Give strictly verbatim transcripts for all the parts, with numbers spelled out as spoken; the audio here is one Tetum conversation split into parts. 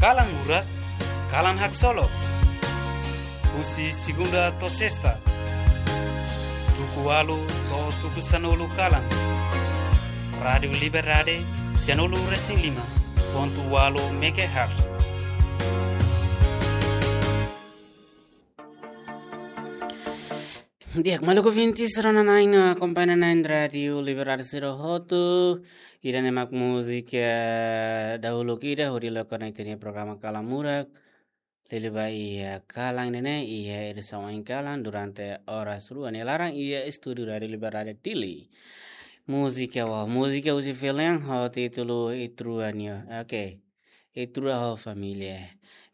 Kalan Murak, kalan haksolok. Husi segunda to'o sesta, tuku ualu to'o tuku sanulu kalan. Rádiu Liberdade, sanulu resin lima pontu ualu megahertz. Di'ak, maluk ouvinte sira-ne'e, akompaña na'in Rádiu Liberdade sira hotu. Ida-ne'e mak múzika dahuluk ida hodi loke ona ita-nia programa Kalan Murak. Liuliu ba iha kalan ne'e, iha edisaun oin kalan durante oras rua nia laran iha estúdiu Rádiu Liberdade Dili. Múzika, wah, múzika husi Filian ho títulu Ita-Rua nia. Oke. Ita-Rua ho família.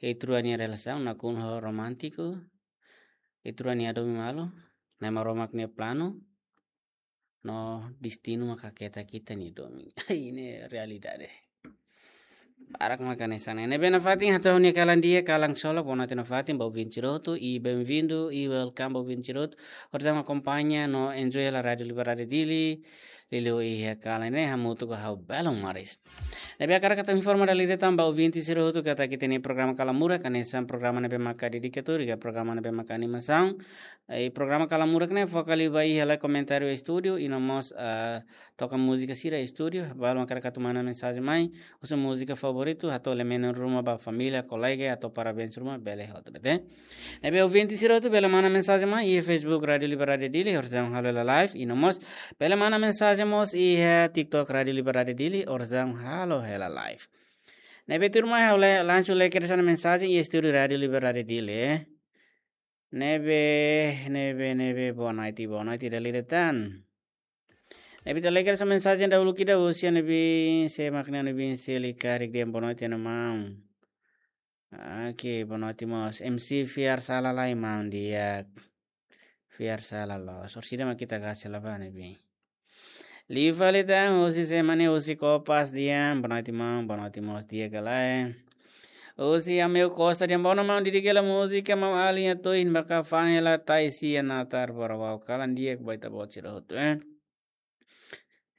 Ita-Rua nia relasaun nakonu ho romántiku. Ita-Rua nia domin malu. Na'i Maromak nia planu no destinu maka keta kita nia domin. Ne'e realidade. Barak maka hanesan ne'e. Ne'ebé nafatin hato'o nia kalan di'ak, kalan solok, boa noite nafatin ba ouvinte sira hotu, i bem-vindo, i welcome ba ouvinte sira hotu. Orsida akompaña no enjoy hela Rádiu Liberdade Dili, liuliu iha kalan ne'e hamutuk ho ha'u Belon Maris. Ne'ebé hakarak atu informa dala ida tan ba ouvinte sira hotu katak ita-nia programa Kalan Murak, hanesan programa ne'ebé maka dedikadu, iha programa ne'ebé maka animasaun, i programa Kalan Murak ne'e foka liu ba iha lai komentáriu estúdiu, i no mós, ah, toka múzika sira estúdiu, balu hakarak atu manda mensajen mai, husu múzika favoritu, hato'o lemenen ruma ba família, kolega, hato'o parabéns ruma, bele hotu de'it. Ne'ebé ouvinte sira hotu bele manda mensajen mai iha Facebook Rádiu Liberdade Dili, orsida halo hela live, i no mós bele manda mensajen mós iha TikTok Rádiu Liberdade Dili, orsida halo hela live. Ne'ebé tuirmai ha'u langsung lee kedas ona mensajen iha estúdiu Rádiu Liberdade Dili, eh. Ne'ebé, ne'ebé, ne'ebé, boa noite, boa noite, dala ida tan. Ne'ebé ita lee kedas ona mensajen dahuluk ida, husi Anubin, sé mak ne'e Anubin, sé lia karik dehan boa noite, maun. Oke, boa noite mós. M C fiar sala lai, maun di'ak. Fiar sala loos. Orsida mak ita kasi la ba Anubin. Liu fali tan, husi sé mak ne'e, husi Kopas dehan, boa noite maun, boa noite mós di'ak ka lae. Husi Ameu Costa dehan, boa noite maun, didik hela múzika maun Alin atu iha ne'ebá ka fa'an hela tai sia natar bora wau kalan di'ak ba ita-boot sira hotu, eh.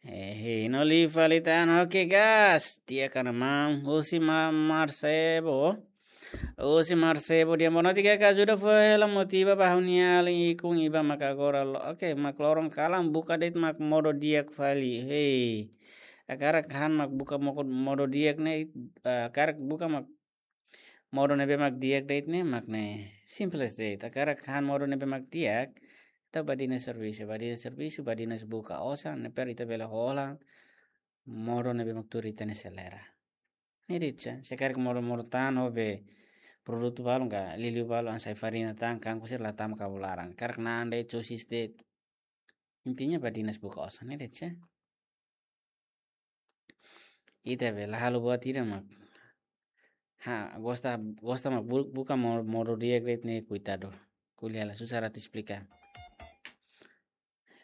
Eh, no liu fali tan, oke gas, di'ak ka lae maun, husi Ma-, Marsebo. Husi Marsebo dehan, boa noite, karik ajuda fó hela motiva ba ha'u-nia alin ikun Iba maka agora lo-, oke, mak loron kalan buka de'it mak modo di'ak fali. Hei. Hakarak han mak buka moko-, modo di'ak ne'e, eh, hakarak buka mak modo ne'ebé mak di'ak de'it ne'e, mak ne'e. Simples de'it. Hakarak han modo ne'ebé mak di'ak, ita badinas servisu, badinas servisu, badinas buka osan, ne'e para ita bele hola modo ne'ebé mak tuir ita-nia selera. Ne'e de'it, se hakarak modo-modo tan, ho be produtu balun ka, liuliu balun hanesan farina tan, kangkung sira la tama kabun laran. Hakarak na'an de'it, sosis de'it. Intinya badinas buka osan, ne'e de'it. Ita be la halo buat ida mak. Ha, gosta, gosta mak bu-, buka mo-, modo di'ak de'it ne'e, koitadu. Ko'alia la susar atu esplika.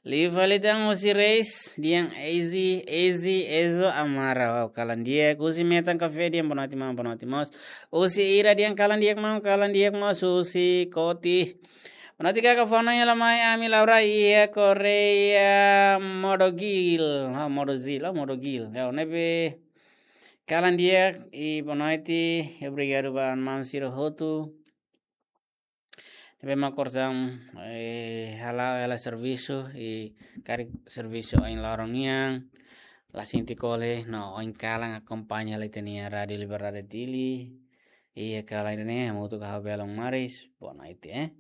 Liu fali tan husi Reis, dehan Ezi, Ezi, Ezo, Amara, wau, kalan di'ak. Husi Metan Café, dehan boa noite maun, boa noite mós. Husi Ira, dehan kalan di'ak maun, kalan di'ak mós. Husi Koti, boa noite kaka, fó ona hela mai ami Laura iha Korea, Modogil, ha, Modozil, oh, Modogil. Ya, ne'ebé kalan di'ak, i boa noite, obrigadu ba maun sira hotu ne'ebé mak orsida, eh, hala'o hela servisu, i karik servisu oin loron nian, la sente kole, no oin kalan akompaña hela ita-nia Rádiu Liberdade Dili, iha kalan ne'e, hamutuk ho ha'u Belon Maris, boa noite, eh.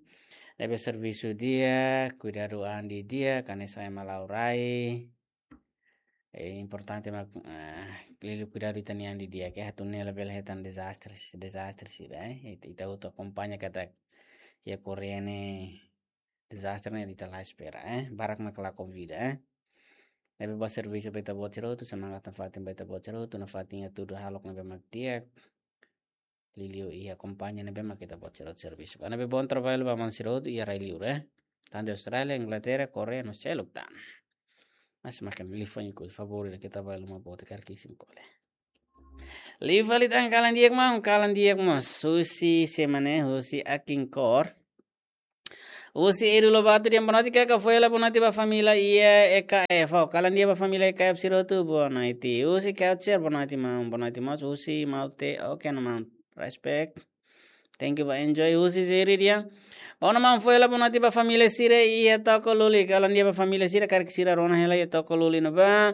Ne'ebé servisu di'ak, kuidadu an di'ak, hanesan ema Laura. Eh, importante mak, eh, liuliu kuidadu ita-nia an di'ak, eh, atu nune'e labele hetan dezastre, dezastre sira, eh. Ita, ita hotu akompaña katak iha Korea ne'e dezastre ne'e ita la espera, eh. Barak mak la konvida, eh. Ne'ebé boa servisu ba ita-boot sira hotu, semangat nafatin ba ita-boot sira hotu, nafatin hatudu hahalok ne'ebé mak di'ak. Liuliu iha kompañia ne'ebé mak ita-boot sira hotu servisu. Ne'ebé bom trabalho ba maun sira hotu iha rai-liur, eh. Tantu Austrália, Inglaterra, Korea, no seluk tan. Mas makin liu fali ku favór ida ke trabalho uma bote kar kisim kole. Liu fali tan, kalan di'ak maun, kalan di'ak mós. Husi sé mak ne'e, husi Akin Kor. Husi Eru Lobato dehan boa noite kaka, fó hela boa noite ba família iha E K F. Oh, kalan di'ak ba família E K F sira hotu, boa noite. Husi Culture, boa noite maun, boa noite mós. Husi Maute, oke, no maun. Respect. Thank you ba Enjoy husi Zeri dehan. Bom, maun, foin hela boa noite ba família sira iha Toko Luli. Kalan di'ak ba família sira, karik sira rona hela iha Toko Luli ne'ebá.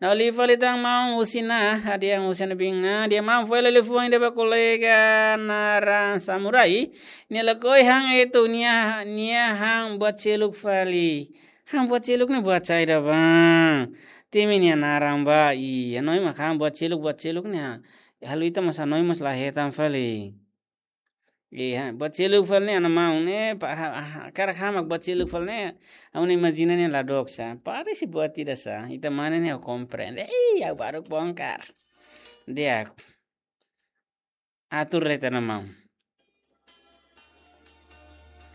Ne'e liu fali tan maun husi Na'i, hadi'a husi Na'i bin Na'i, dehan maun foin hela liafuan ida ba kolega naran Samurai. Nia lakohi han etu, nia, nia han buat seluk fali. Han buat seluk ne'e buat saida bá? Temi nia naran bá, i hanoin mak han buat seluk, buat seluk ne'e. Halo ita mós hanoin mós la hetan fali. Iya, buat seluk fali ne'e, ana maun ne'e, pa, ha, ha, hakarak han mak buat seluk fali ne'e, ha'u-nia imajina ne'e la dook sá. Parese buat ida sá, ita mane ne'e komprende. Ih, ha'u baru bongkar. Di'ak. Atur de'it, ana maun.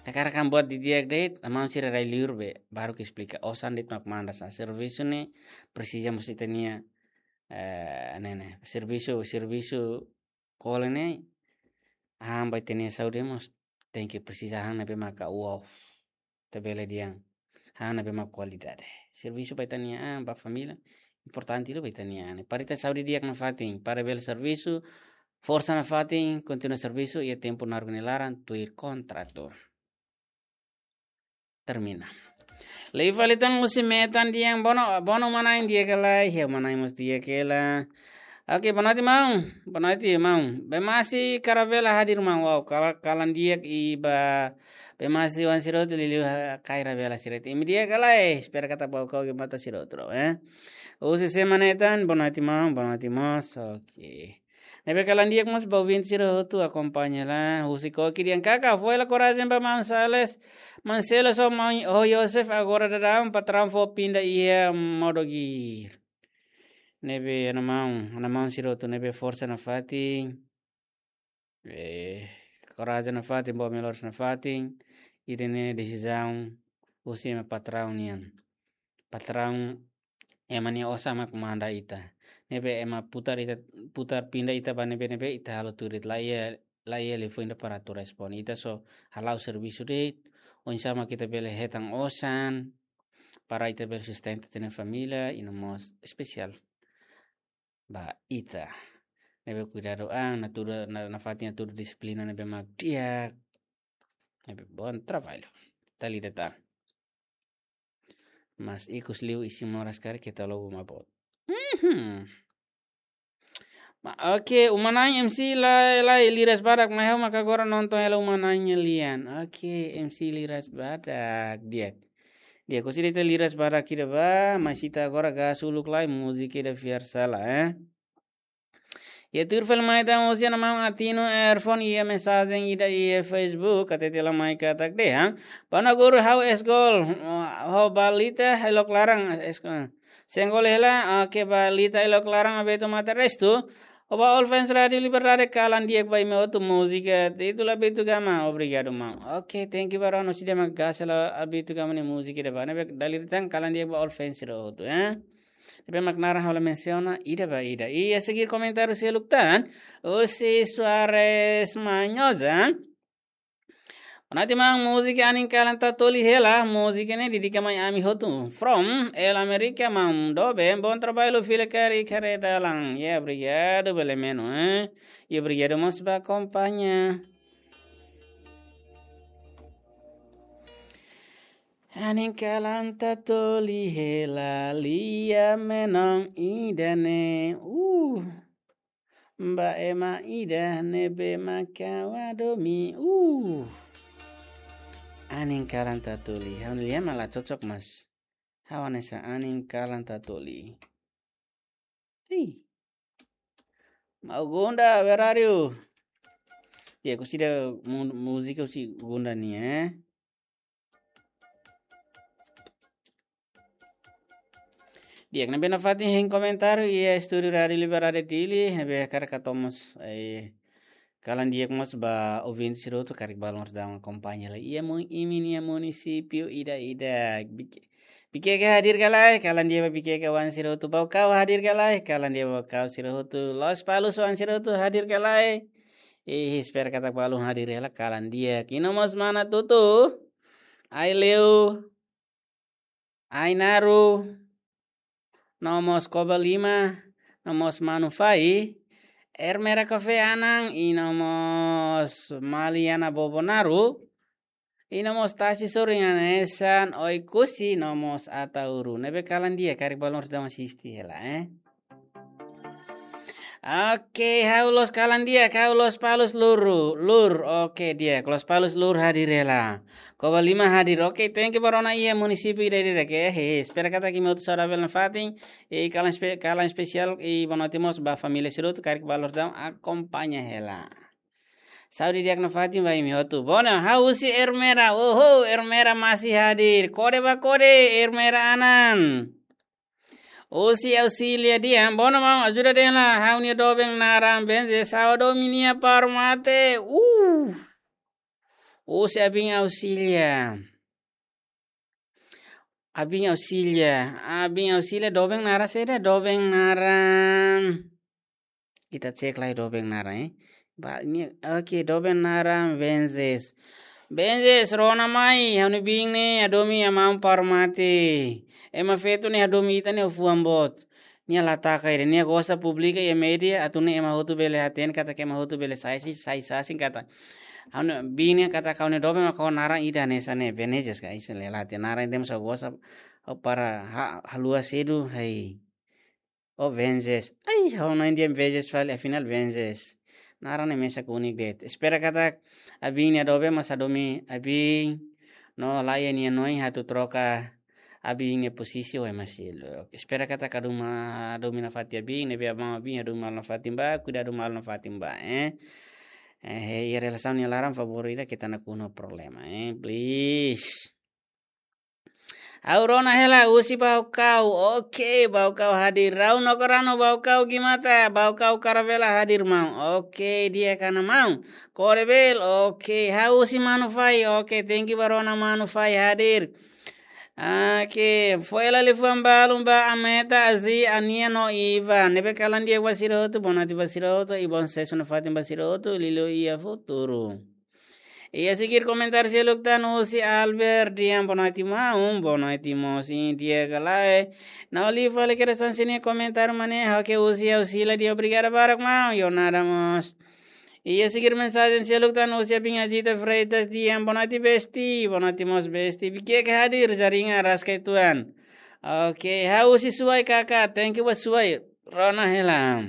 Hakarak han buat didi'ak de'it, ana maun sira rai liur be, baru ke esplika. Osan de'it mak manda sá. Servisu ne'e, presiza mós ita-nia, eh, ne'e, ne'e. Servisu, servisu kole ne'e, han ba ita-nia saúde mós tenke presiza han ne'ebé maka wow. Ita bele dehan han ne'ebé mak kualidade. Servisu ba ita-nia an, ba família, importante liu ba ita-nia an. Para ita saúde di'ak nafatin, para bele servisu, forsa nafatin, kontinua servisu, iha tempu naruk nia laran, tuir kontratu. Termina. Liu fali tan husi Metan dehan bono, bono uma-na'in di'ak ka lae, iha uma-na'in mós di'ak hela. Oke, boa noite, maun. Boa noite, maun. Bemasi Karavela hadir, maun. Wow, kala-, kalan di'ak i ba Bemasi oan sira hotu liuliu ha-, Karavela sira hotu. Imi di'ak ka lae, espera katak Baucau ke mata sira hotu, eh. Husi Sema Netan, boa noite, maun. Boa noite, mós. Oke. Ne'ebé kalan di'ak mós ba ouvinte sira hotu akompaña hela. Husi Koki dehan kaka, foin hela korajen ba maun Sales, maun Sales ho maun, ho Yosef agora daudaun patraun fó pinda iha modo gear. Ne'ebé ana maun, ana maun sira hotu ne'ebé forsa nafatin. Eh, korajen nafatin, boa melhoras nafatin. Ida-ne'e desizaun husi ema patraun nian. Patraun ema nia osan mak manda ita. Ne'ebé ema putar ita, putar pinda ita ba ne'ebé-ne'ebé ita halo tuir de'it, la iha, la iha liafuan ida para atu responde. Ita só hala'o servisu de'it, oinsá mak ita bele hetan osan, para ita bele sustenta ita-nia família, i no mós espesiál ba ita. Ne'ebé kuidadu an, natudu, na, nafatin atu disiplina ne'ebé mak di'ak. Ne'ebé bom trabalho. Dala ida tan. Mas ikus liu isin moras karik keta lobo mabot. Mhm. Ma, oke, uma-na'in M C la, la liras badak, mai ha'u maka agora nonton hela uma-na'in nia lian. Oke, M C liras badak, di'ak. Di'ak, husi ita liras badak ida bá, mas ita agora gas uluk lai, múzika ida fiar sala, eh. Iha tuir fali mai tan husi ana maun Atino Erfon iha mensajen ida iha Facebook, hatete lai mai katak dehan, Pana Guru ha'u es gol, ho balita elok laran, es, eh, senggol hela, oke, balita elok laran Abeto Mata Restu, ho ba all fans Rádio Liberdade kalan di'ak ba imi hotu múzika, títulu Abeto Gama, obrigadu maun. Oke, thank you ba rona, husi ida mak gas hela Abeto Gama nia múzika ida bá, ne'ebé dala ida tan kalan di'ak ba all fans sira hotu, eh. Ne'ebé mak naran ha'u la mensiona ida ba ida. I a seguir komentáriu seluk tan, husi Suarez Manhosa. Boa noite, maun, múzika Anin Kalan Tatoli hela, múzika ne'e dedika mai ami hotu. From El America, maun, dobe, bom trabalho, fila kari kare dalan. Ya, obrigadu, bele menu, eh. I obrigadu mós ba akompaña. Anin kalan Tatoli hela lia menon ida-ne'e. Uh. Ba ema ida ne'ebé maka ha'u hadomi. Uh. Anin kalan Tatoli. Ha'u-nia lian mak la cocok, mas ha'u hanesan Anin Kalan Tatoli. Ih. Mau Gunda, where are you? Ya, husi ida mu-, múzika husi Gunda nian, eh. Di'ak, ne'ebé nafatin hein komentáriu iha estúdiu Rádio Liberdade Dili, ne'ebé hakarak atu mós, eh, kalan di'ak mós ba ouvinte sira hotu karik balun mós daudaun akompaña lai. Iha mu-, imi-nia munisípiu ida-idak. Bik-, Bikeke hadir ka lae, kalan di'ak ba Bikeke oan sira hotu. Baucau hadir ka lae, kalan di'ak ba Baucau sira hotu. Lospalos oan sira hotu hadir ka lae. Ih, espera katak balun hadir hela, kalan di'ak. I no mós mana Tutu, Aileu, Ainaru, no mós Koba Lima, no mós Manu Fai, Ermera Café Anan, i no mós Maliana Bobonaru, i no mós Tasi Sorin Anesan, Oekusi, no mós Ataúru. Ne'ebé kalan di'ak, karik ba loron dadaun asiste hela, eh? Oke, ha'u la'ós kalan di'ak, ha'u Lospalos Luru, Lur. Oke, di'ak, Lospalos Lur hadir hela. Covalima hadir. Oke, thank you ba rona iha munisípiu ida-idak, eh. He, espera katak imi hotu saudavel nafatin. I kalan espe-, kalan espesiál i boa noite mós ba família sira hotu, karik ba loron dadaun akompaña hela. Saúde di'ak nafatin ba imi hotu. Bona, ha'u husi Ermera. Oho, Ermera masih hadir. Kode ba kode, Ermera Anan. Husi Auxília Dian. Bona, maun, ajuda de'it lai. Ha'u-nia doben naran Benzes, ha'u hadomi nia para mate. Uh. Husi abin Auxília. Abin Auxília. Abin Auxília doben naran saida, doben naran. Ita cek lai doben naran, eh. Ba, nia, oke, doben naran Benzes. Benzes, rona mai, ha'u-nia biin ne'e hadomi maun para mate. Ema feto ne'e hadomi ita ne'e fuan boot. Nia la taka ida, nia gosta publika iha média, atu nune'e ema hotu bele hatene katak ema hotu bele sai si, sai sasin katak. Ha'u-nia biin ne'e katak ha'u-nia doben mak ho naran ida hanesan ne'e, Benzes ka, isi le la hatene naran ida mós ha'u gosta, ha'u para ha-, haluha sedu, hai. Oh, Benzes. Ai, ha'u-nia biin Benzes fali, afinál Benzes. Naran ne'e mesak unik de'it. Espera katak abin nia doben mós hadomi abin. No laiha nia noin atu troka abin nia posisi ho ema seluk. Espera katak hadomi, hadomi nafatin abin, ne'ebé maun abin hadomi malu nafatin ba, kuidadu malu nafatin ba, eh. Eh, iha relasaun nia laran favór ida keta nakonu problema, eh. Please. Ha'u rona hela husi Baucau. Oke, Baucau hadir. Rau no korano Baucau gimata. Baucau Caravela hadir maun. Oke, di'ak ona maun. Kode bel. Oke, ha'u husi Manu Fai. Oke, thank you ba rona Manu Fai hadir. Oke, foin hela liafuan balun ba Ameta, Azi, Ania no Iva. Ne'ebé kalan di'ak ba sira hotu, boa noite ba sira hotu, i bom susesu nafatin ba sira hotu, liuliu iha futuru. Iha seguir komentáriu seluk tan husi Albert Dian, boa noite maun, boa noite mós, i di'ak ka lae. Ha'u lee fali kedas hanesan nia komentáriu mak ne'e, oke, husi Auxília Dian, obrigada barak maun, yo nada mós. Iha seguir mensajen seluk tan husi abin Azita Freitas Dian, boa noite besti, boa noite mós besti. Bikiak hadir, jaringan raskai tuan. Oke, ha'u husi Suai kaka, thank you ba Suai. Rona hela.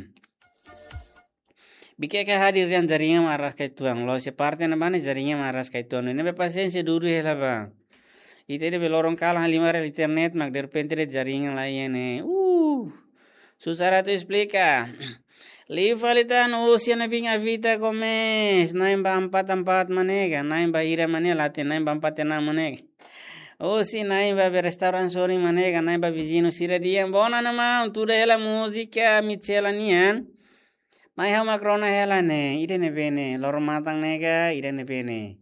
Bikiak hadir dehan jaringan mak raskai tuan. La'ós iha parte ne'ebá ne'e jaringan mak raskai tuan. Ne'ebé pasiénsia duni hela ba. Ita ida be loron kalan halimar hela internet mak derrepente de'it jaringan laiha ne'e. Uh. Susah atu esplika. Lee fali tan husi ha'u-nia biin Avita Gomes. Na'in ba empat empat mak ne'e ka, na'in ba hira mak ne'e, la hatene, na'in ba empat enam mak ne'e ka. Husi na'in ba be restaurante sorin mak ne'e ka, na'in ba viziñu sira di'ak. Bona ona maun, tuda hela múzika Michela nian. Mai ha'u mak rona hela ne'e, ida ne'ebé ne'e, Loro Matan ne'e ka, ida ne'ebé ne'e.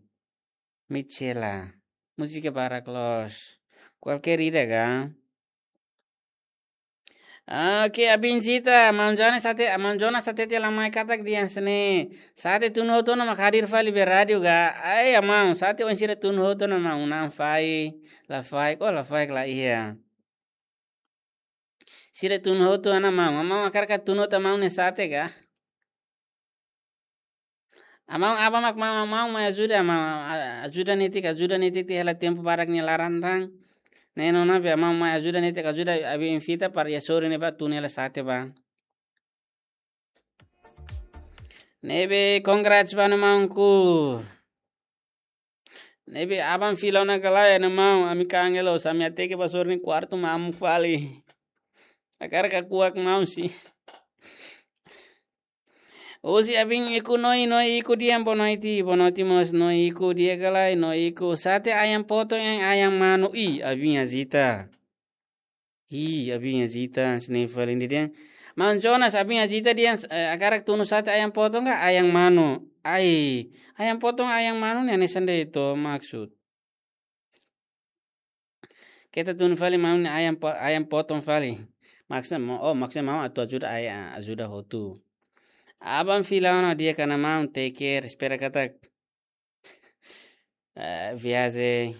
Michela. Múzika barak loos. Kualkér ida ka. Oke, abin Zita, maun Jonas hatete, maun Jonas hatete la mai katak dehan hanesan ne'e. Sate tun hotu ona mak hadir fali be rádiu ka. Ai, maun, sate oin sira tun hotu ona maun, na'an faik, la faik, oh, la faik la iha. Sira tun hotu ona maun, maun hakarak tun hotu maun nia sate ka. Maun, aban mak maun, maun mai ajuda, maun, a-, ajuda netik, ajuda netik tiha hela tempu barak nia laran tan. Ne'e ona be maun mai ajuda netik, ajuda abin Vita para iha sorin ne'ebá tun hela sate ba. Ne'ebé congrats ba ha'u-nia maunku. Ne'ebé aban fila ona ka lae, ha'u-nia maun, ami kangen loos, ami hateke ba sorin nia kuartu mamuk fali. Hakarak kuak maun si. Husi abin iku Noi, Noi iku di'ak, boa noite, boa noite mós Noi iku di'ak ka lae, Noi iku. Sate ayam potong ka ayam manu, i, abin Azita. I, abin Azita, hanesan ne'e fali dehan. Maun Jonas, abin Azita dehan, eh, hakarak tunu sate ayam potong ka ayam manu. Ai, ayam potong ayam manu ne'e hanesan de'it to maksud. Keta tunu fali maun nia ayam po-, ayam potong fali. Maksud maun, oh, maksud maun atu ajuda ai-, ajuda hotu. Aban fila ona di'ak ona maun, take care, espera katak eh, viajen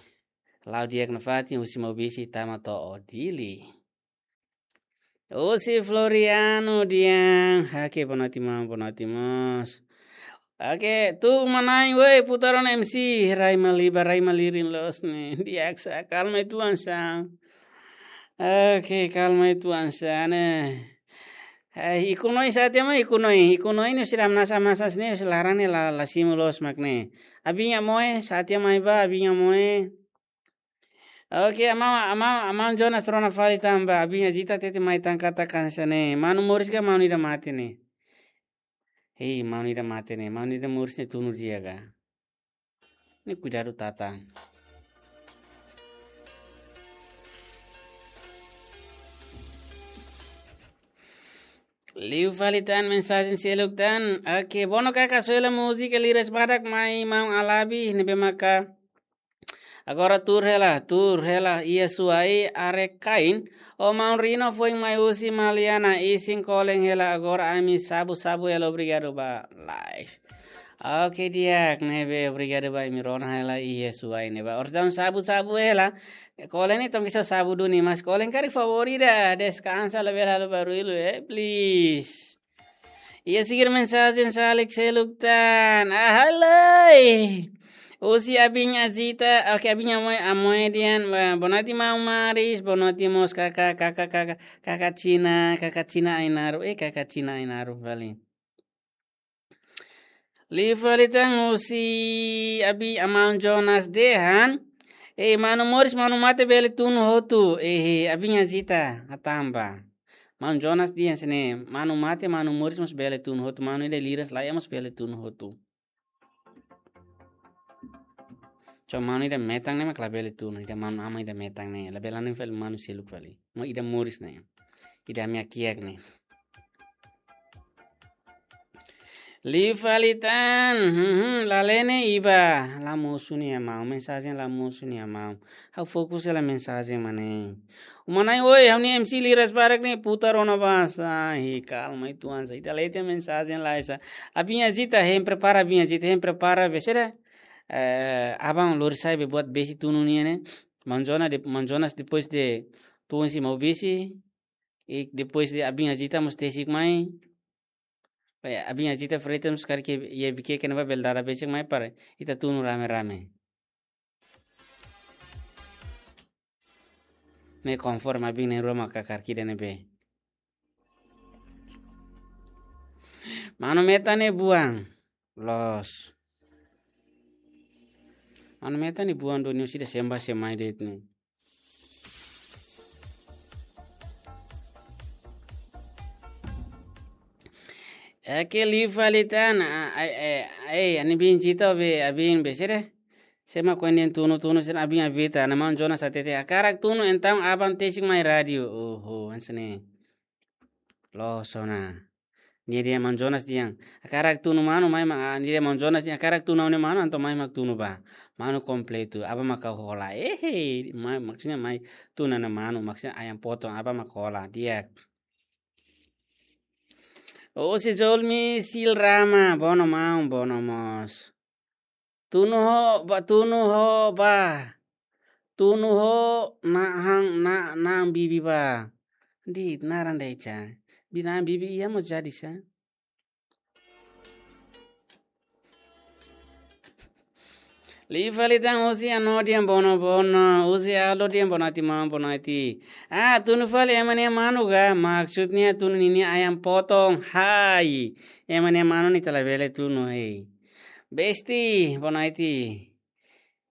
la'o di'ak nafatin husi Maubisse tama to'o Dili. Husi Floriano dehan, oke, boa noite, maun, boa noite, mós. Oke, tuur mai, woi, putar ona M C, rai malirin, rai malirin loos ne'e. Di'ak sá, kalma uitoan sá. Oke, kalma uitoan sá ne'e. Eh, ikus neen sá tiha mai, ikus neen, ikus neen ne'e sira hamnasa-hamnasa ne'e, sira laran ne'e la, la simu loos mak ne'e. Abin Amoe, sá tiha mai ba, Abin Amoe. Oke, maun, maun, maun Jonas rona fali tan ba, Abin Azita tete mai tan katak hanesan ne'e. Manu moris ka maun ida mate ne'e. Hei, maun ida mate ne'e, maun ida moris ne'e tunu di'ak ka. Ne'e kuidadu tata. Liu fali tan mensajen seluk tan. Oke, Bono Kaka, soe hela múzika Liras Badak mai maun Alabi, ne'ebé maka agora tuur hela, tuur hela, iha Suai, Arekain, o maun Rino foin mai husi Maliana, isin kolen hela, agora ami sabu-sabu hela, obrigadu ba live. Oke, di'ak ne'ebé, obrigadu ba imi rona hela iha Suai ne'e ba. Oras daudaun sabu-sabu hela, kolen ne'e tonke só sabu duni, mas kolen karik favór ida, deskansa labele halo barullu, eh, please. Iha sigur mensajen salik seluk tan. Ah, halo. Husi Abin Azita, oke, Abin Amoe, Amoe dehan, ba, boa noite maun Maris, boa noite mós kaka, kaka, kaka, kaka Cina, kaka Cina Ainaro, eh, kaka Cina Ainaro fali. Liu fali tan husi Abin, maun Jonas dehan, eh, manu moris, manu mate bele tunu hotu, eh, Abin Azita, hatán ba. Maun Jonas dehan hanesan ne'e, manu mate, manu moris mós bele tunu hotu, manu ida liras laiha mós bele tunu hotu. Só manu ida metan ne'e mak labele tunu, ida manu aman ida metan ne'e, labele hanesan fali manu seluk fali. Maibé ida moris ne'e. Ida ami hakiak ne'e. Liu fali tan, hmm, hmm, Lalene Iba, la mosu nia maun, mensajen la mosu nia maun. Ha'u fokus hela mensajen mak ne'e. Uma Nai, oi, ha'u-nia M C Liras Badak ne'e putar ona ba sá, hi, kalma uitoan sá, ita lee tiha mensajen lai sá. Abin Azita, hein prepara, Abin Azita, hein prepara, besera. Eh, aban lori sai be buat besi tunu nian ne'e. Maun Jonas de, maun Jonas depois de tun si mau besi, i depois de Abin Azita mós tesik mai. Eh, Abin Azita Freitas mós karik iha Viqueque ne'ebá bele dada besik mai para ita tunu rame-rame. Ne'e konforme Abin nia ruma karik ida ne'ebé. Manu metan ne'e buan. Loos. Manu metan ne'e buan duni, husi ida semba semai de'it ne'e. Oke, liu fali tan, a, a, a, a, Abin Azita be, Abin besera. Sema koen dehan tunu-tunu sira Abin Azita, ne'e maun Jonas hatete, hakarak tunu entaun aban tesik mai rádiu. Oho, hanesan ne'e. Loos ona. Nia dehan maun Jonas dehan, hakarak tunu manu mai mak, ah, nia dehan maun Jonas dehan, hakarak tunu ha'u-nia manu, entaun mai mak tunu ba. Manu kompletu, aban mak ha'u hola. Eh, mai, maksudnya mai tunu ha'u-nia manu, maksudnya ayam potong, aban mak hola. Di'ak. Husi Zolmi Silrama, Bono maun, Bono mós. Tunu ho ba, tunu ho ba. Tunu ho na han na, na'an bibi ba. Di naran de'it sá. Bi na'an bibi iha mós jadi sá. Liu fali tan husi Ano dehan Bono Bono, husi Alo dehan boa noite maun, boa noite. Ah, tunu fali ema nia manu ka, maksudnya tunu ninia ayam potong, hai. Ema nia manu ne'e ita labele tunu, hei. Besti, boa noite.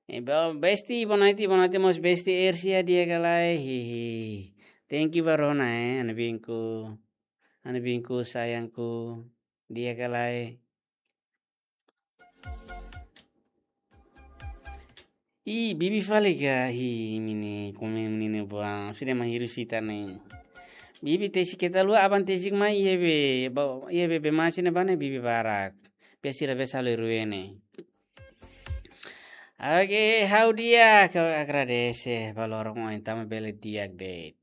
Eh, bo-, Besti, boa noite, boa noite mós Besti Ersia, di'ak ka lae, hihi. Thank you ba rona, eh, ha'u-nia binku. Ha'u-nia binku, sayangku, di'ak ka lae. Ih, bibi fali ka, hi, imi ne'e, komen imi ne'e buang, sudah menghiru sita ne'e. Bibi tesik keta lua, aban tesik mai, iha be, ba, iha be, be masi ne'ebá ne'e bibi barak. Be sira be salu rue ne'e. Oke, ha'u di'ak, ha'u agradese, ba loron ohin tanba bele di'ak de'it.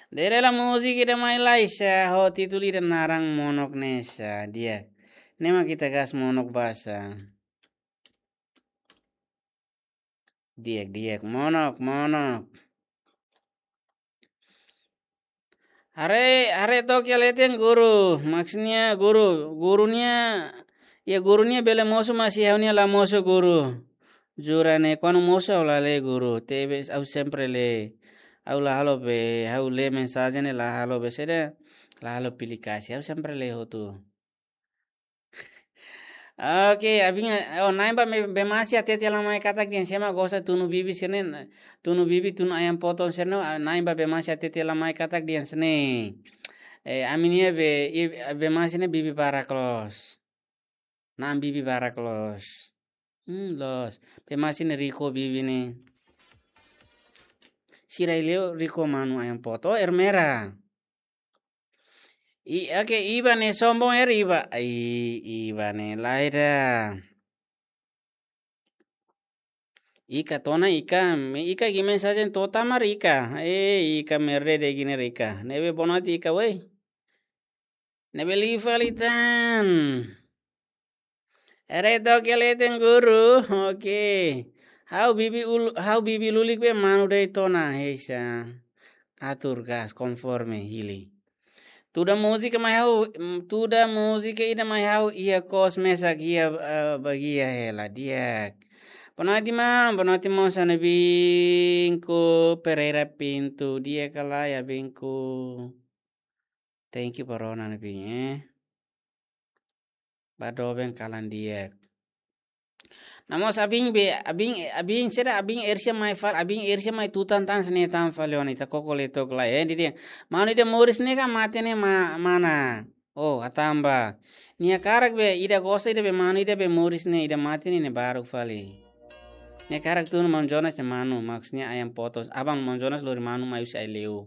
Dere la múzika ida mai lai sá, ho títulu ida naran Monok ne'e sá, di'ak. Ne'e mak ita gás Monok ba sá. Di'ak, di'ak, Monok, Monok. Haree, haree took iha leten guru. Maksudnya guru, guru nia, ya guru nia bele mosu, mas ha'u-nia la mosu guru. Jura ne'e, kuandu mosu ha'u la lee guru. Tebes ha'u sempre lee. Ha'u la halo be, ha'u lee mensajen ne'e la halo be saida, la halo pilih kasih. Ha'u sempre lee hotu. Oke, abin, oh, na'in ba me-, bemasi hatete lai mai katak dehan sé mak gosta tunu bibi sira-ne'e, tunu bibi, tunu ayam potong sira-ne'e, ah, na'in ba bemasi hatete lai mai katak dehan sira-ne'e. Eh, ami-nia be, i-, bemasi ne'e bibi barak loos. Na'an bibi barak loos. Hmm, loos. Bemasi ne'e riko bibi ne'e. Sira Ileu riko manu ayam potong, oh, Ermera. I, oke, Iba ne'e sombong er Iba. I, Iba ne'e lae ida. Ika tona Ika, me Ika gi mensajen to'o tamar Ika. Eh, Ika merde de giner Ika. Ne'ebé bonoit Ika, woi. Ne'ebé liu fali tan. Haree took iha leten guru. Oke. Ha'u bibi ul-, ha'u bibi lulik be manu de'it ona, heisa. Atur gas konforme hili. Tuda múzika mai ha'u, mm, tuda múzika ida mai ha'u iha kos mesak iha, eh, bagia hela di'ak. Bonoit maun, bonoit mós ami-nia binku, Pereira Pinto, di'ak ka lae ami-nia binku. Thank you ba rona ne'ebé, eh. Ba doben kalan di'ak. Nomós abin be, abin, abin saida, abin Ersia mai fali, abin Ersia mai tutan tan sene tan fali ona, ita koko lee took lai, eh, dehan. Manu ida moris ne'e ka mate ne'e ma-, mana. Oh, hatán ba. Nia hakarak be, ida gosta ida be manu ida be moris ne'e, ida mate ne'e, ne'e baruk fali. Nia hakarak tunu maun Jonas nia manu, maksudnya ayam potong. Abang maun Jonas lori manu mai husi Aileu.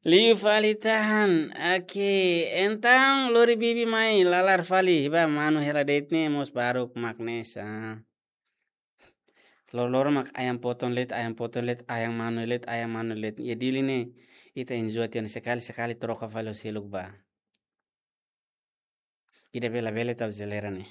Liu fali tan. Oke, entaun lori bibi mai lalar fali. Ba manu hela de'it ne'e mós baruk mak ne'e sa. Loro-loron mak ayam potong de'it, ayam potong de'it, ayam manu de'it, ayam manu de'it. Ya Dili ne'e, ita enjoy tiha ona, sekali-sekali troka fali ho seluk ba. Ida bele-bele tau jeleira ne'e.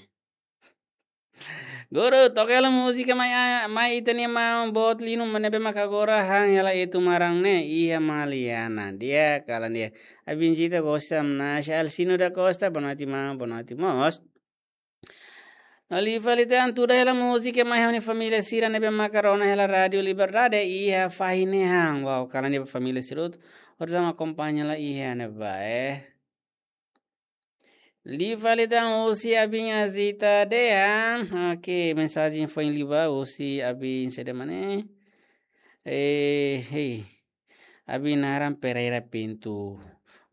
Guru, toka hela múzika mai, ah, mai ita-nia maun boot liu ne'ebé mak agora han hela Etu Maran ne'e, iha Maliana. Di'ak, kalan di'ak. Abin Zita gosta, Nasha Alcino da Costa, bonoit maun, bonoit mós. No liu fali tan, tuda hela múzika mai ha'u-nia família sira ne'ebé maka rona hela Rádio Liberdade iha fahi ne'e han. Wow, kalan di'ak ba família sira hotu. Orsida mak akompaña lai iha ne'ebá, eh. Liu fali tan husi abin Azita dehan. Oke, mensajen foin liu ba husi abin saida mak ne'e. Eh, hei. Abin naran Pereira Pinto.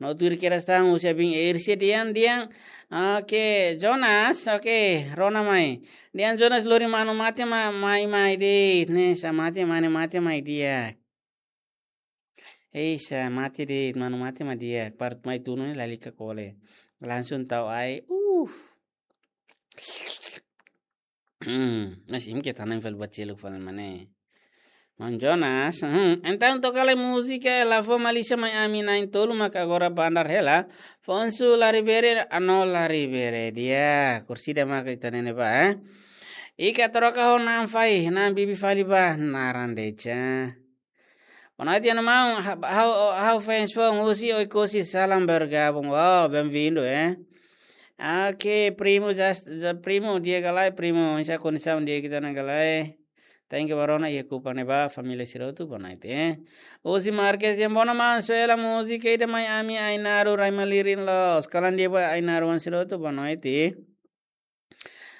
No tuir kedas tan husi abin Ersia dehan, dehan. Oke, Jonas, oke, rona mai. Dehan Jonas lori manu mate ma-, mai, mai de'it, ne'e sa mate, mane mate mai di'ak. Ei, sa mate de'it, manu mate mak di'ak, para atu mai tunu ne'e lalika kole. Langsung tau ai. Uh. Hmm, mas imi ke tanam fali buat seluk fali mane. Maun Jonas, hmm, entaun toka lai múzika, eh, la fó malísia mai ami na'in-tolu maka agora bandar hela. Fonsu Laribere, ano Laribere, di'ak, orsida maka ita ne'e ne'ebá, eh. Ika troka ho na'an fahi, na'an bibi fali ba, naran de'it sa. Bonoit, anu maun, ha-, ha'u, ha'u fans foun husi Oekusi, salam bergabung. Wow, bem-vindo, eh. Oke, primo, just, just primo, di'ak ka lae, primo, oinsá kondisaun di'ak ita-nia ka lae. Thank you ba rona iha Kupang ne'ebá, família sira hotu, bonoit, eh. Husi Marques dehan, bonoit maun, soe hela múzika ida mai ami Ainaro rai malirin loos. Kalan di'ak ba Ainaro oan sira hotu, bonoit, eh.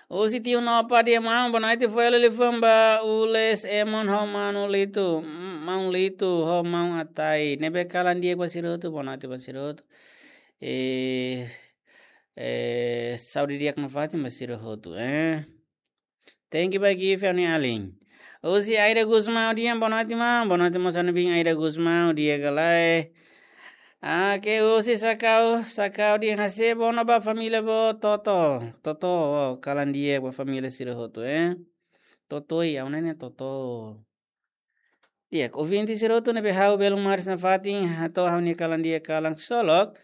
Husi tiu Nopa dehan maun, bonoit, fó hela liafuan ba Ules, Emon ho Manu Litu, m-, Maun Litu ho Maun Atai. Ne'ebé kalan di'ak ba sira hotu, bonoit ba sira hotu. Eh, eh, saúde di'ak nafatin ba sira hotu, eh. Thank you ba Gift, ha'u-nia alin. Husi Aida Gusmão dehan, bonoit maun, bonoit mós ha'u-nia bin Aida Gusmão, di'ak ka lae. Ah, ke husi Sakau, Sakau dehan, hase'e bonoit ba família boot, Toto. Toto, oh, kalan di'ak ba família sira hotu, eh. Toto, i, ha'u-nia ne'e Toto. Di'ak, ouvinte sira hotu ne'ebé ha'u belun maris nafatin, hato'o ha'u-nia kalan di'ak kalan ksolok.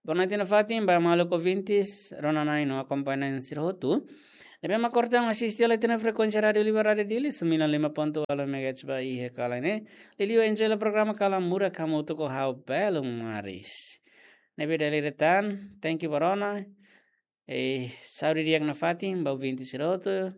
Bonoit nafatin ba maluk ouvintes, rona-na'in no akompañante sira hotu. Ne'ebé mak kortan asiste hela iha ne'e frekuénsia Rádiu Liber, Rádiu Dili, sembilan lima ponto delapan megahertz ba iha kalan ne'e. Liuliu enjoy hela programa Kalan Murak hamutuk ho ha'u Belo Maris. Ne'ebé dala ida tan, thank you ba rona. Eh, saúde di'ak nafatin ba ouvinte sira hotu.